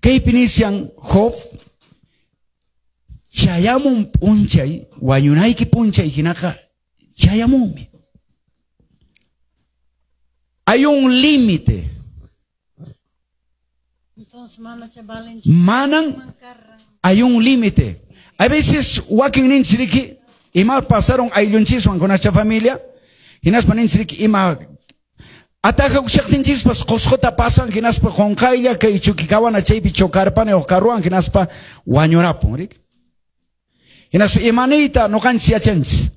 Kaypi nishan Job chayamun p'unchay, wañunayki p'unchay hinaqa chayamunmi. Hay un límite. Entonces, manacha valenchu. Manan hay un límite. A veces wakin ninchik ima pasaron ayllunchiswan con nuestra familia, hinaspa ninchik ima atajakushaqtinchispas Qusquta pasan hinaspa qunqaylla kay chukikawana chaypi chocarpani uq carruwan hinaspa wañurapun, rik. Hinaspa imaniyta ñuqanchis yachanchis.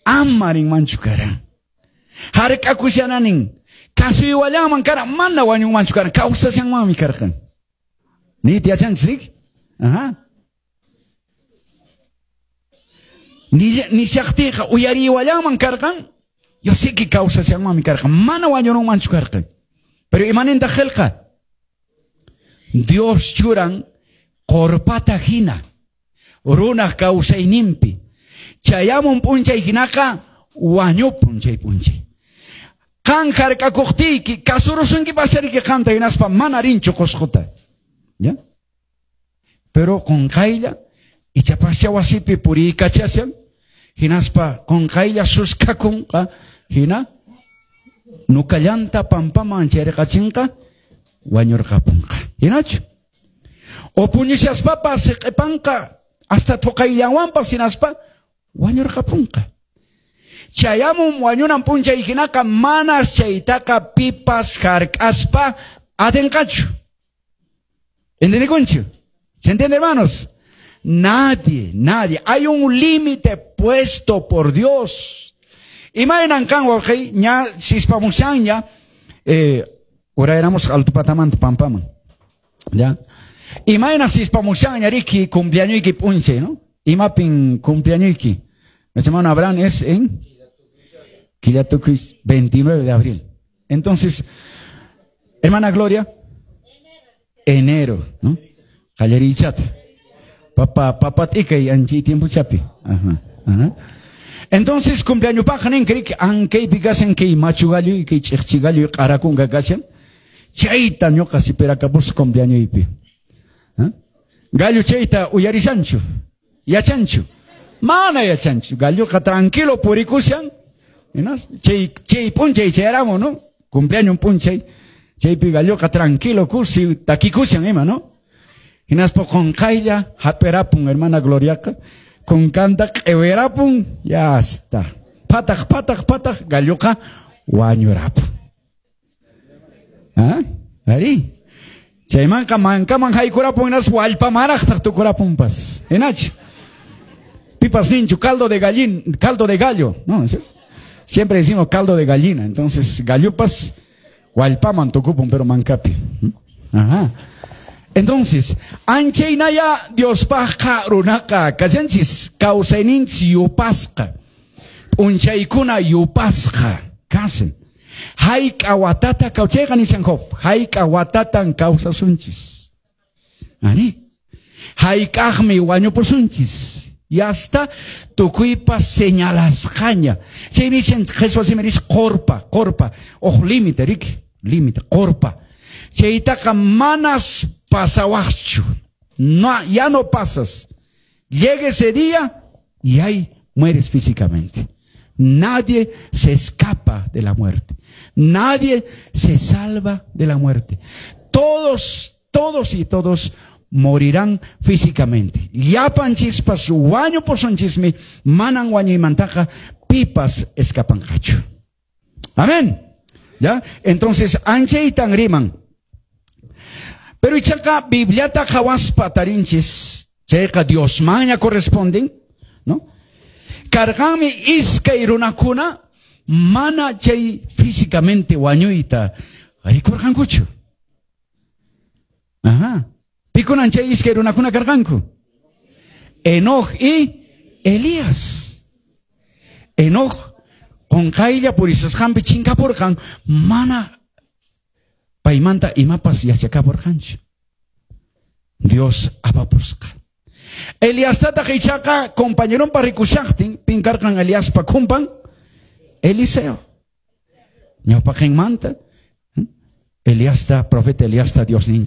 Ama rinmanchu karan. Hark'akushananin kasuywallanman karan, mana wañunmanchu karan, kawsashanmanmi karqan. Niyta yachanchis, rik? Ajá. Nishaqtiyqa uyariywallanman karqan, yo sé que kawsashanmanmi karqan, mana wañurunmanchu karqan. Pero imanintaq qillqa? Dios churan qorpata hina runaq kawsayninpi. Chayamun p'unchay hinaqa wañupun chay p'unchay. Qan hark'akuqtiyki kasurusunkipashariki qanta hinaspa mana rinchu Qusquta. ¿Ya? Pero qunqaylla ichapascha wasipi puriykachashan hinaspa qunqaylla suskakunqa hina nukallanta pampaman chayrqachinqa wañurqapunqa. Hinachu? O puñushaspapas siq'ipanqa hasta thuqayllanwanpas hinaspa wañurqapunqa. Chayamun wañunan p'unchay hinaqa manas chaytaqa pipas hark'aspa atinqachu. ¿Entendikunchu? ¿Se entiende, hermanos? Nadie, nadie. Hay un límite puesto por Dios. Imaynan kan wawqi ña sispamushanña urayramusqa altupatamanta pampaman. ¿Ya? Imayna sispamushanña riki cumpleañoyki p'unchay, ¿no? Imapin cumpleañoyki. Nuestro hermano Abraham es en Quillatukuy 29 de abril. Entonces, hermana Gloria, enero, ¿no? Qallariychata. Papa, papa t'ikay anchi tiempo chapi. Ajá, ajá. Entonces, cumpleaños nin krik ankaypi kashan kay machu gallo y kay ch'iqchi gallo y q'arakunka kashan. Chayta ñuqa sipirakapus cumpleañoypi. ¿Ah? Gallo chayta uyarishanchu, yachanchu. Mana yachanchu. Galloqa tranquilo purikushan. ¿No? Chay, chay p'unchay chayaramu, ¿no? Cumpleaños p'unchay. Chaypi galloqa tranquilo kusi takikushan ima, ¿no? Hinaspa qunqaylla hap'irapun hermana Gloriaqa. Kunkanta q'iwirapun, ya está. Pataq, pataq, pataq, galloqa wañurapun. ¿Ah? Ari. Chaymanqa mankaman haykurapun hinaspa wallpamaraqtaq tukurapunpas. Hinachu. Pipas ninchu, caldo de gallin, caldo de gallo, ¿no? ¿Sí? Siempre decimos caldo de gallina, entonces gallupas wallpaman tukupun, pero mankapi. Ajá. Entonces, anchaynaya Diospaqqa runaqa kashanchis kawsayninchis yupasqa, p'unchaykuna yupasqa kasan. Hayk'a watata kawchayqa nishan Job, hayk'a watatan kawsasunchis. Ari. Hayk'aqmi wañupusunchis. Ya está tukuypas señalasqaña. Chay nishan Jesús simi nis qorpa, qorpa, uj límite, riki, límite, qorpa. Chaytaqa manas pasawaqchu. No, ya no pasas. Llega ese día y ahí mueres físicamente. Nadie se escapa de la muerte. Nadie se salva de la muerte. Todos, todos y todos morirán físicamente. Llapanchispas wañupusunchismi, manan wañuymantaqa pipas escapanqachu. Amén. ¿Ya? Entonces, anchaytan riman. Pero ichaqa Bibliata qhawaspa tarinchis, chayqa Diosmanña corresponden, ¿no? Karqanmi iskay runakuna mana chay físicamente wañuyta rikurqankuchu. Ajá. Pikunan chay iskay runakuna karqanku? Enoch y Elías. Enoch qunqaylla purisasqanpi chinkapurqan, mana paymanta imapas yachakapurqanchu. Dios apapusqa. Eliastataq ichaqa compañeronpa rikushaqtin, pin karqan Eliaspa kumpan? Eliseo. Ñawpaqinmanta Eliasta, profeta Eliasta Dios ninchis.